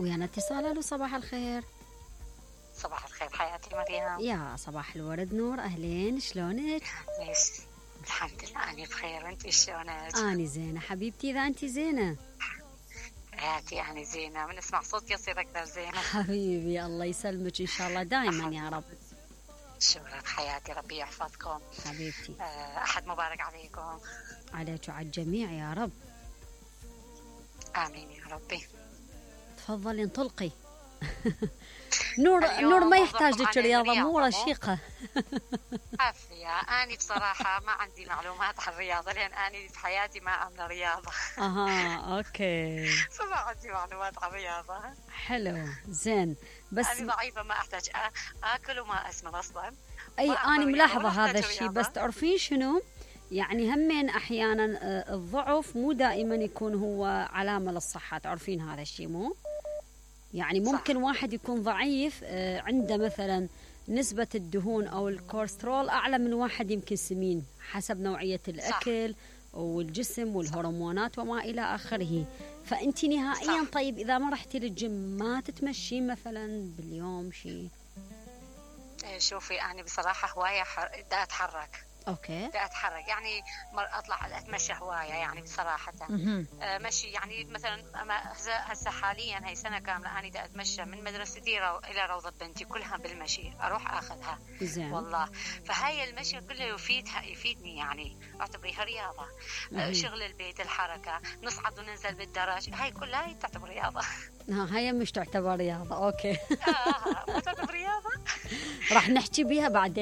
ويانا اتصال. الو صباح الخير. صباح الخير حياتي مريم. يا صباح الورد نور، اهلين شلونك؟ ليش؟ الحمد لله أنا بخير، أنت شلونك؟ اني زينه حبيبتي، اذا انت زينه حياتي أنا زينة، من اسمع صوتك يصير أكثر زينة. حبيبي الله يسلمك ان شاء الله دائما يا رب. شكرا حياتي، ربي يحفظكم حبيبتي. أحد مبارك عليكم. عليك وعلى الجميع يا رب. آمين يا ربي. تفضلي انطلقي. نور ما يحتاج لك رياضة، مو رشيقة. عافية، أنا بصراحة ما عندي معلومات عن الرياضة، لأن أنا في حياتي ما أعمل رياضة. أوكي. فما عندي معلومات عن الرياضة. حلو زين، بس أنا ضعيفة، ما أحتاج أكل وما أسمن أصلا. أي أنا ملاحظة هذا الشيء، بس تعرفين شنو؟ يعني همين أحيانا الضعف مو دائما يكون هو علامة للصحة، تعرفين هذا الشيء مو؟ يعني ممكن صح. واحد يكون ضعيف عنده مثلا نسبة الدهون أو الكوليسترول أعلى من واحد يمكن سمين، حسب نوعية الأكل صح. والجسم والهرمونات وما إلى آخره. فأنت نهائيا صح. طيب إذا ما رحتي للجيم ما تتمشي مثلا باليوم شيء؟ شوفي أنا بصراحة هواية دا أتحرك. اوكي. بدي اتحرك، يعني اطلع اتمشى هوايه، يعني بصراحه مشي، يعني مثلا هسه حاليا هي سنه كامله انا بدي اتمشى من مدرستي الى روضه بنتي كلها بالمشي، اروح اخذها زين. والله. فهاي المشي كله يفيدني، يعني اعتبريها رياضه. شغل البيت، الحركه، نصعد وننزل بالدرج، هاي كلها تعتبر رياضه. هاي مش تعتبر رياضه. اوكي. ما تعتبر رياضه. راح نحكي بيها بعدين.